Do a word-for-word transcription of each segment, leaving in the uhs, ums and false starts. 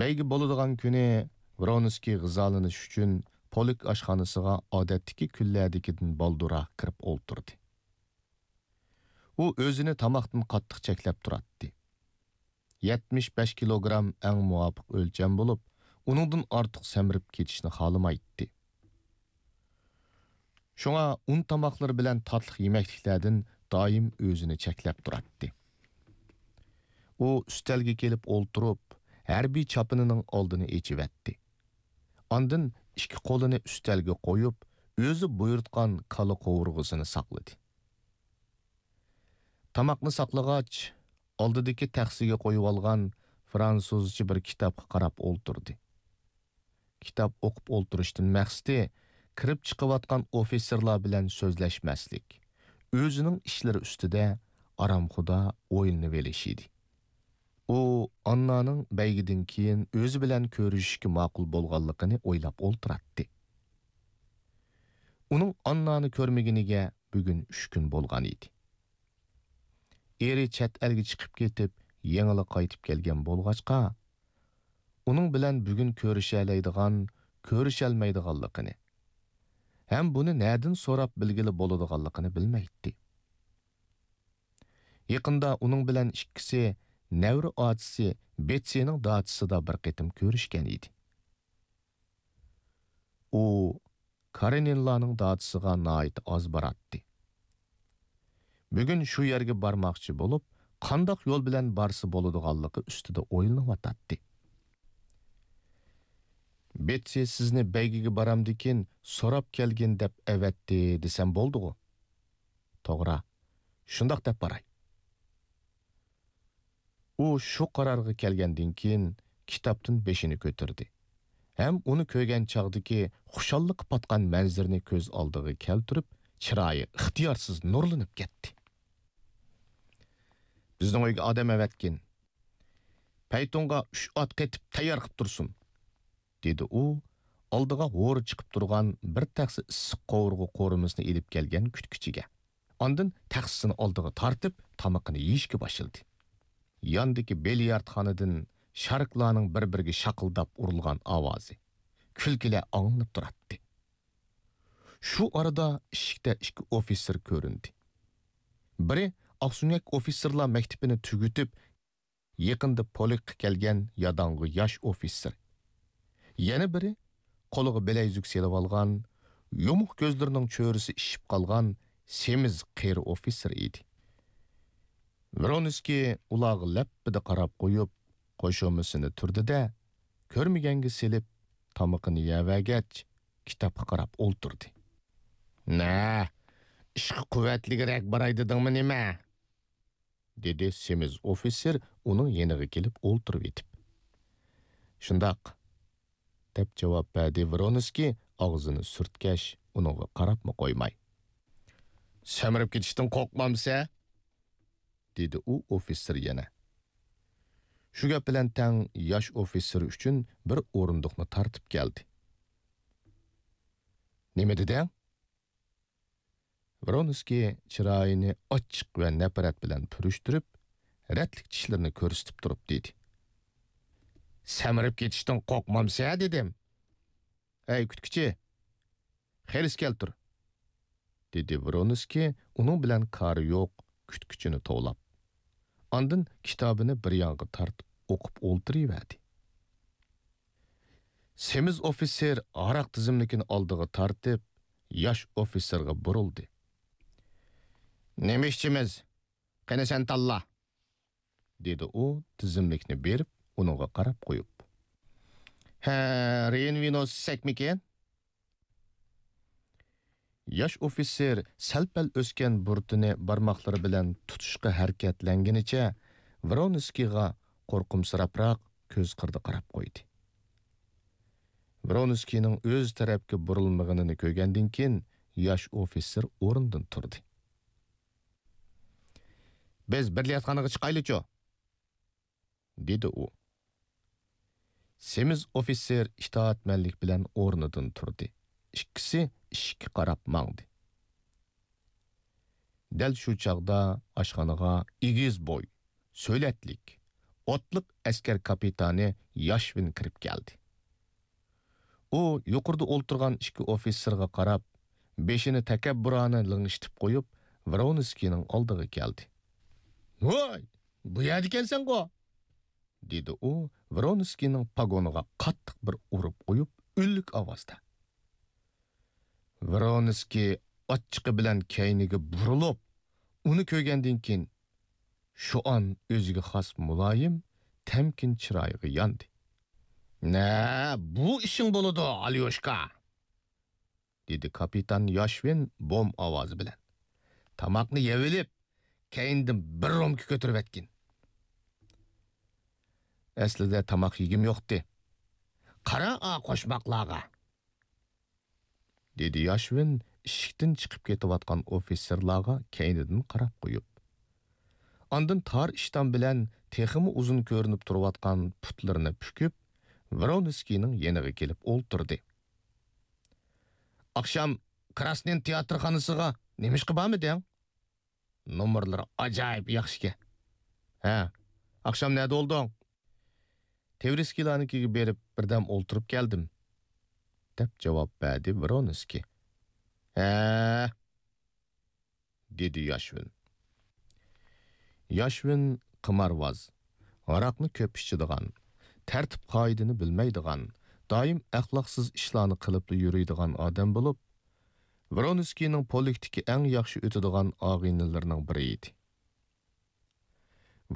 بەيگە بولىدىغان كۈنى ۋرونسكىي غىزالىنىش ئۈچۈن پولك ئاشخانىسىغا ئادەتتىكى كۈنلەردىكىدىن بالدۇرراق كىرىپ ئولتۇردى. ئۇ ئۆزىنى تاماقتىن قاتتىق چەكلەپ تۇراتتى. يەتمىش بەش كىلوگرام ئەڭ مۇۋاپىق ئۆلچەم بولۇپ، ئۇنىڭدىن ئارتۇق سەمرىپ كېتىشنى خالىمايتتى. شۇڭا ئۇن تاماقلىرى بىلەن تاتلىق يېمەكلىكلەردىن دائىم ئۆزىنى چەكلەپ تۇراتتى. ئۇ ئۈستەلگە كېلىپ ئولتۇرۇپ، ھەربىي چاپىنىنىڭ ئالدىنى ئېچىۋەتتى. ئاندىن ئىككى قولىنى ئۈستەلگە قويۇپ، ئۆزى بۇيرۇتقان كالا قوۋۇرغىسىنى ساقلىدى. تاماقنى ساقلىغاچ، ئالدىدىكى تەخسىگە قويۇۋالغان فرانسۇزچە بىر كىتابقا قاراپ ئولتۇردى. كىتاب ئوقۇپ ئولتۇرۇشتىن مەقسىتى كىرىپ چىقىۋاتقان ئوفىتسېرلار بىلەن سۆزلەشمەسلىك، ئۆزىنىڭ ئىشلىرى ئۈستىدە ئارامخۇدا ئويلىنىۋېلىش ئىدى. ئۇ ئاننانىڭ بەيگىدىن كېيىن ئۆزى بىلەن كۆرۈشۈشكە ماقۇل بولغانلىقىنى ئويلاپ ئولتۇراتتى. ئۇنىڭ ئاننانى كۆرمىگىنىگە بۈگۈن ئۈچ كۈن بولغان ئىدى. ئېرى چەت ئەلگە چىقىپ كېتىپ، يېڭىلا قايتىپ كەلگەن بولغاچقا، ئۇنىڭ بىلەن بۈگۈن كۆرۈشەلەيدىغان، كۆرۈشەلمەيدىغانلىقىنى ھەم بۇنى نەدىن سوراپ بىلگىلى بولىدىغانلىقىنى بىلمەيتتى. يېقىندا ئۇنىڭ بىلەن ئىككىسى نەۋرە ئاچىسى بېتسىنىڭ داچىسىدا بىر قېتىم كۆرۈشكەن ئىدى. ئۇ كارېنىنلارنىڭ داچىسىغا ناھايىتى ئاز باراتتى. بۈگۈن شۇ يەرگە بارماقچى بولۇپ، قانداق يول بىلەن بارسا بولىدىغانلىقى ئۈستىدە ئويلىنىۋاتاتتى. بېتسى سىزنى بەيگىگە بارامدىكىن سوراپ كەلگىن دەپ ئەۋەتتى دېسەم بولدىغۇ؟ توغرا، شۇنداق دەپ باراي. ئۇ شۇ قارارغا كەلگەندىن كېيىن كىتابتىن بېشىنى كۆتۈردى ھەم ئۇنى كۆرگەن چاغدىكى خۇشاللىققا پاتقان مەنزىرىنى كۆز ئالدىغا كەلتۈرۈپ، چىرايى ئىختىيارسىز نۇرلىنىپ كەتتى. بىزنىڭ ئۆيگە ئادەم ئەۋەتكىن. پەيتۇنغا ئۈچ ئات قېتىپ تەييار قىپ تۇرسۇن، دېدى ئۇ، ئالدىغا ھورى چىقىپ تۇرغان بىر تەخسە ئىسسىق قوۋۇرغا قورۇمىسىنى ئېلىپ كەلگەن كۈتكۈچىگە. ئاندىن تەخسىسىنى ئالدىغا تارتىپ، تامىقىنى يېيىشكە باشلىدى. ياندىكى بىليارتخانىدىن شارىكلارنىڭ بىر-بىرىگە شاقىلداپ ئۇرۇلغان ئاۋازى، كۈلكىلەر ئاڭلىنىپ تۇراتتى. شۇ ئارىدا ئىشىكتە ئىككى ئوفىتسېر كۆرۈندى. بىرى ئاقسۆڭەك ئوفىتسېرلار مەكتىپىنى تۈگىتىپ، يېقىندا پولكقا كەلگەن ياداڭغۇ ياش ئوفىتسېر. يەنە بىرى قولىغا بىلەيزۈك سېلىۋالغان، يۇمۇق كۆزلىرىنىڭ چۆرىسى ئىششىپ قالغان سېمىز قېرى ئوفىتسېر ئىدى. ۋرونسكىي ئۇلارغا لەپپىدە قاراپ قويۇپ، قوشۇمىسىنى تۈردى-دە، كۆرمىگەنگە سېلىپ، تامىقىنى يەۋەرگەچ، كىتابقا قاراپ ئولتۇردى. نە، ئىشقا قۇۋۋەتلىكرەك باراي دېدىڭمۇ نېمە؟ دېدى سېمىز ئوفىتسېر ئۇنىڭ يېنىغا كېلىپ ئولتۇرۇۋېتىپ. شۇنداق، دەپ جاۋاب بەردى ۋرونسكىي ئاغزىنى سۈرتكەچ، ئۇنىڭغا قاراپمۇ قويماي. سەمرىپ كېتىشتىن قورقمامسەن؟ دېدى ئۇ ئوفىتسېر يەنە. شۇ گەپ بىلەن تەڭ ياش ئوفىتسېر ئۈچۈن بىر ئورۇندۇقنى تارتىپ كەلدى. نېمە دېدىڭ؟ ۋرونسكىي چىرايىنى ئاچچىق ۋە نەپرەت بىلەن پۈرۈشتۈرۈپ، رەتلىك چىشلىرىنى كۆرسىتىپ تۇرۇپ دېدى. سەمرىپ كېتىشتىن قورقمامسەن دېدىم. ئەي كۈتكۈچى، خېرىس كەلتۈر، دېدى ۋرونسكىي ئۇنىڭ بىلەن كارى يوق كۈتكۈچىنى توۋلاپ. ئاندىن كىتابىنى بىر يانغا تارتىپ ئوقۇپ ئولتۇرۇۋەردى. سېمىز ئوفىتسېر ھاراق تىزىملىكىنى ئالدىغا تارتىپ، ياش ئوفىتسېرغا بۇرۇلدى. نېمە ئىچىمىز؟ قېنى سەن تاللا، دېدى ئۇ تىزىملىكنى بېرىپ، ئۇنىڭغا قاراپ قويۇپ. ھە، رېيىن ۋىنوسى ئىچسەكمىكىن؟ ياش ئوفىتسېر سەل-پەل ئۆسكەن بۇرۇتىنى بارماقلىرى بىلەن تۇتۇشقا ھەرىكەتلەنگىنىچە ۋرونسكىيغا قورقۇمسىراپراق كۆز قىرىدا قاراپ قويدى. ۋرونسكىينىڭ ئۆز تەرەپكە بۇرۇلمىغىنىنى كۆرگەندىن كېيىن ياش ئوفىتسېر ئورنىدىن تۇردى. بىز بىللە ياتاقخانىغا چىقايلىچۇ؟ دېدى ئۇ. سېمىز ئوفىتسېر ئىتائەتمەنلىك بىلەن ئورنىدىن تۇردى. ئىككىسى ئىشىككە قاراپ ماڭدى. دەل شۇ چاغدا ئاشخانىغا ئېگىز بوي، سۆلەتلىك، ئوتلۇق ئەسكەر كاپىتانى ياشۋىن كىرىپ كەلدى. ئۇ يۇقىرىدا ئولتۇرغان ئىككى ئوفىتسېرغا قاراپ، بېشىنى تەكەببۇرانە لىڭشىتىپ قويۇپ، ۋرونسكىينىڭ ئالدىغا كەلدى. «ۋاي، بۇ يەردىكەنسەنغۇ!» دېدى ئۇ ۋرونسكىينىڭ پاگونىغا قاتتىق بىر ئۇرۇپ قويۇپ، ئۈنلۈك ئاۋازدا. ۋرونسكىي ئاچچىقى بىلەن كەينىگە بۇرۇلۇپ، ئۇنى كۆرگەندىن كېيىن، شۇ ئان ئۆزىگە خاس مۇلايىم، تەمكىن چىرايىغا ياندى. «نە، بۇ ئىشىڭ بولىدۇ، ئاليوشكا!» دېدى كاپىتان ياشۋىن بوم ئاۋازى بىلەن. «تاماقنى يەۋېلىپ، كەينىدىن بىر رومكا كۆتۈرۈۋەتكىن.» «ئەسلىدە تاماق يېگۈم يوقتى.» «قارا ئا قوشماقلارغا!» دېدى ياشۋىن ئىشىكتىن چىقىپ كېتىۋاتقان ئوفىتسېرلارغا كەينىدىن قاراپ قويۇپ. ئاندىن تار ئىشتان بىلەن تېخىمۇ ئۇزۇن كۆرۈنۈپ تۇرۇۋاتقان پۇتلىرىنى پۈكۈپ، ۋرونسكىينىڭ يېنىغا كېلىپ ئولتۇردى. «ئاخشام كراسنىن تىياتىرخانىسىغا نېمىشقا بارمىدىڭ؟ نومۇرلىرى ئاجايىپ ياخشىكەن.» «ھە، ئاخشام نەدە بولدۇڭ؟» «تېۋرىسكىيلارنىڭكىگە بېرىپ، بىردەم ئولتۇرۇپ كەلدىم.» دەپ جاۋاب بەردى ۋرونسكىي. «ھە؟» دېدى ياشۋىن. ياشۋىن قىمارۋاز، ھاراقنى كۆپ ئىچىدىغان، تەرتىپ-قائىدىنى بىلمەيدىغان، دائىم ئەخلاقسىز ئىشلارنى قىلىپلا يۈرىدىغان ئادەم بولۇپ، ۋرونسكىينىڭ پولكتىكى ئەڭ ياخشى ئۆتىدىغان ئاغىنىلىرىنىڭ بىرى ئىدى.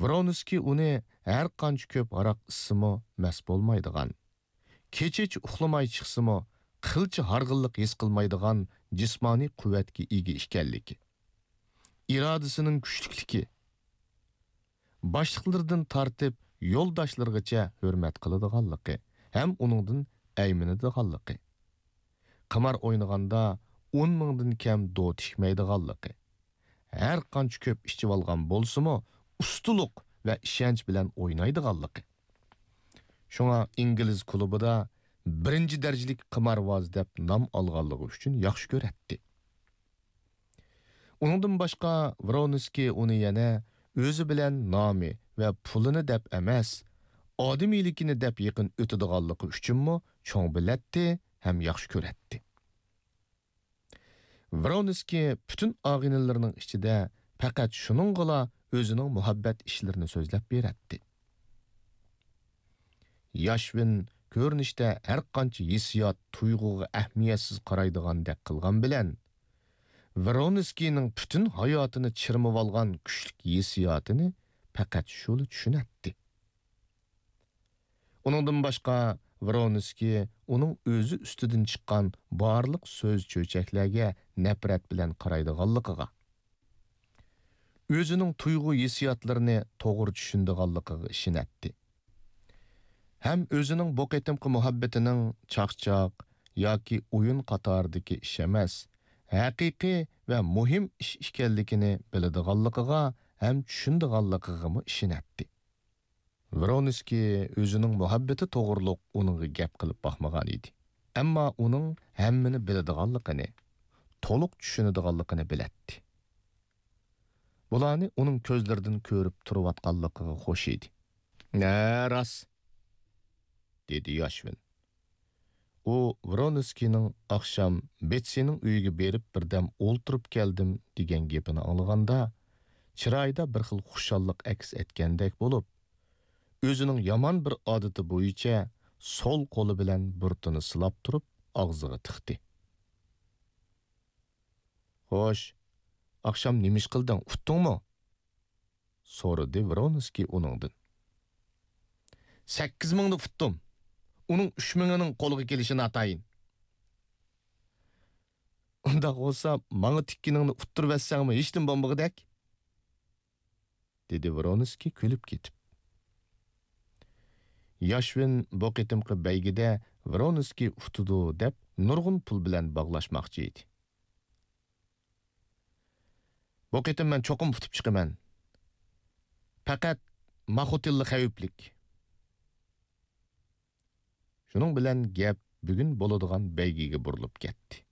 ۋرونسكىي ئۇنى ھەر قانچە كۆپ ھاراق ئىچسىمۇ مەست بولمايدىغان، كېچىچە ئۇخلىماي چىقسىمۇ قىلچە ھارغىنلىق ھېس قىلمايدىغان جىسمانىي قۇۋۋەتكە ئىگە ئىكەنلىكى، ئىرادىسىنىڭ كۈچلۈكلۈكى، باشلىقلىرىدىن تارتىپ يولداشلىرىغىچە ھۆرمەت قىلىدىغانلىقى ھەم ئۇنىڭدىن ئەيمىنىدىغانلىقى، قىمار ئوينىغاندا ئون مىڭدىن كەم دو تىكمەيدىغانلىقى، ھەر قانچە كۆپ ئىچىۋالغان بولسىمۇ، ئۇستىلىق ۋە ئىشەنچ بىلەن ئوينايدىغانلىقى. شۇڭا ئىنگلىز كۇلۇبىدا بىرىنچى دەرىجىلىك قىمارۋاز دەپ نام ئالغانلىقى ئۈچۈن ياخشى كۆرەتتى. ئۇنىڭدىن باشقا، ۋرونسكىي ئۇنى يەنە ئۆزى بىلەن نامى ۋە پۇلىنى دەپ ئەمەس، ئادىمىيلىكىنى دەپ يېقىن ئۆتىدىغانلىقى ئۈچۈنمۇ چوڭ بىلەتتى ھەم ياخشى كۆرەتتى. ۋرونسكىي پۈتۈن ئاغىنىلىرىنىڭ ئىچىدە پەقەت شۇنىڭغىلا ئۆزىنىڭ مۇھەببەت ئىشلىرىنى سۆزلەپ بېرەتتى. ياشۋىن كۆرۈنۈشتە ھەرقانچە ھېسسىيات، تۇيغۇغا ئەھمىيەتسىز قارايدىغاندەك قىلغان بىلەن، ۋرونسكىينىڭ پۈتۈن ھاياتىنى چىرمىۋالغان كۈچلۈك ھېسسىياتىنى پەقەت شۇلا چۈشىنەتتى. ئۇنىڭدىن باشقا، ۋرونسكىي ئۇنىڭ ئۆزى ئۈستىدىن چىققان بارلىق سۆز-چۆچەكلەرگە نەپرەت بىلەن قارايدىغانلىقىغا، ئۆزىنىڭ تۇيغۇ-ھېسسىياتلىرىنى توغرا چۈشىنىدىغانلىقىغا ئىشىنەتتى. ھەم ئۆزىنىڭ بۇ قېتىمقى مۇھەببىتىنىڭ چاقچاق ياكى ئويۇن قاتارىدىكى ئىش ئەمەس، ھەقىقىي ۋە مۇھىم ئىش ئىكەنلىكىنى بىلىدىغانلىقىغا ھەم چۈشىنىدىغانلىقىغىمۇ ئىشىنەتتى. ۋرونسكىي ئۆزىنىڭ مۇھەببىتى توغرۇلۇق ئۇنىڭغا گەپ قىلىپ باقمىغان ئىدى. ئەمما ئۇنىڭ ھەممىنى بىلىدىغانلىقىنى، تولۇق چۈشىنىدىغانلىقىنى بىلەتتى. بۇلارنى ئۇنىڭ كۆزلىرىدىن كۆرۈپ تۇرۇۋاتقانلىقىغا خوش ئىدى. ھە، راست، دېدى ياشۋىن. ئۇ ۋرونسكىينىڭ ئاخشام بېتسىنىڭ ئۆيىگە بېرىپ بىردەم ئولتۇرۇپ كەلدىم دېگەن گېپىنى ئاڭلىغاندا، چىرايىدا بىر خىل خۇشاللىق ئەكس ئەتكەندەك بولۇپ، ئۆزىنىڭ يامان بىر ئادىتى بويىچە سول قولى بىلەن بۇرۇتىنى سىلاپ تۇرۇپ ئاغزىغا تىقتى. خوش، ئاخشام نېمە ئىش قىلدىڭ، ئۇتتۇڭمۇ؟ سورىدى ۋرونسكىي ئۇنىڭدىن. سەككىز مىڭنى ئۇتتۇم. ئۇنىڭ ئۈچ مىڭىنىڭ قولغا كېلىشى ناتايىن. ئۇنداق بولسا، ماڭا تىككىنىڭنى ئۇتتۇرۇۋەتسەڭمۇ ھېچنېمە بولمىغۇدەك، دېدى ۋرونسكىي كۈلۈپ كېتىپ. ياشۋىن بۇ قېتىمقى بەيگىدە ۋرونسكىي ئۇتىدۇ دەپ نۇرغۇن پۇل بىلەن باغلاشماقچى ئىدى. بۇ قېتىم مەن چوقۇم ئۇتۇپ چىقىمەن. پەقەت ماخوتىنلا خەۋپلىك. شۇنىڭ بىلەن گەپ بۈگۈن بولىدىغان بەيگىگە بۇرۇلۇپ كەتتى.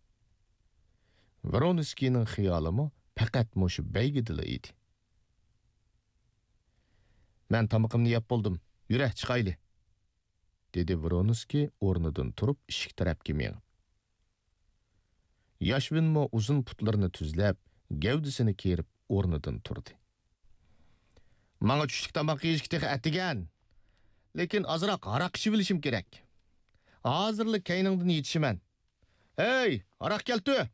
ۋرونسكىينىڭ خىيالىمۇ پەقەت مۇشۇ بەيگىدىلا ئىدى. مەن تامىقىمنى يەپ بولدۇم، يۈرە، چىقايلى، دېدى ۋرونسكىي ئورنىدىن تۇرۇپ ئىشىك تەرەپكە مېڭىپ. ياشۋىنمۇ ئۇزۇن پۇتلىرىنى تۈزلەپ، گەۋدىسىنى كېرىپ ئورنىدىن تۇردى. ماڭا چۈشلۈك تاماق يېيىشكە تېخى ئەتىگەن. لېكىن ئازراق ھاراق ئىچىۋېلىشىم كېرەك. ھازىرلا كەينىڭدىن يېتىشىمەن. ھەي، ھاراق كەلتۈر!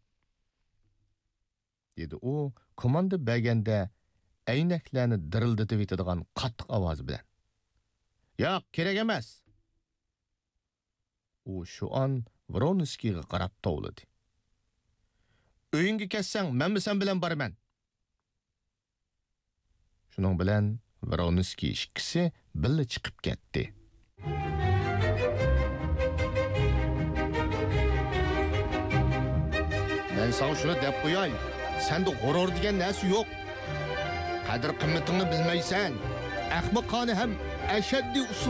دېدى ئۇ كوماندا بەرگەندە ئەينەكلەرنى دىرىلدىتىۋېتىدىغان قاتتىق ئاۋاز بىلەن. ياق، كېرەك ئەمەس! ئۇ شۇئان ۋرونسكىيغا قاراپ توۋلىدى. ئۆيۈڭگە كەتسەڭ، مەنمۇ سەن بىلەن بارىمەن. شۇنىڭ بىلەن ۋرونسكىي ئىككىسى بىللە چىقىپ كەتتى. مەن ساڭا شۇنى دەپ قوياي، سەندە غۇرۇر دېگەن نەرسە يوق. قەدىر-قىممىتىڭنى بىلمەيسەن. ئەخمىقانە ھەم ئەشەددىي ئۇسۇل